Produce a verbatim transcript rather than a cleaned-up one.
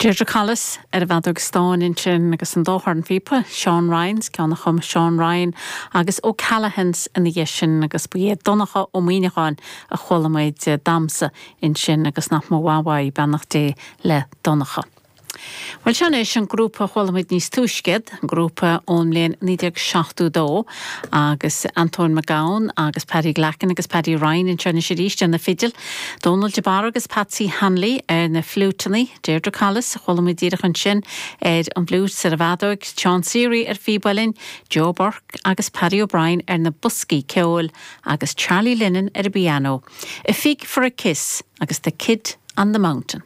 Deirdre Collis ar an bhfeadóg stáin ansin agus an dá chornphíopa, Seán Ryans, ceann a chum Seán Ryan agus O'Callaghan's ina dhiaidh sin agus ba é Donncha Ó Muíneacháin a chuala muid damhsa ansin agus nach mó bhhaid beannacht Dé le Donncha. Well seo anois an grúpa chuala muid níos túisce, grúpa ón mbliain naoi déag seachtó dó agus Antóin Mac Gabhann agus Paddy Glackin agus Paddy Ryan anseo anois arís ar na fidil, Donald de Barra agus Patsy Hanley ar na fliúiteanna, Deirdre Collis a chuala muid díreach ansin ar an bhfliúit ar an bhfeadóg, Seán Seery ar phíb uilleann, Joe Burke agus Paddy O'Brien ar na boscaí ceoil agus Charlie Lennon ar an bpianó. A Fig for a Kiss agus The Kid on the Mountain.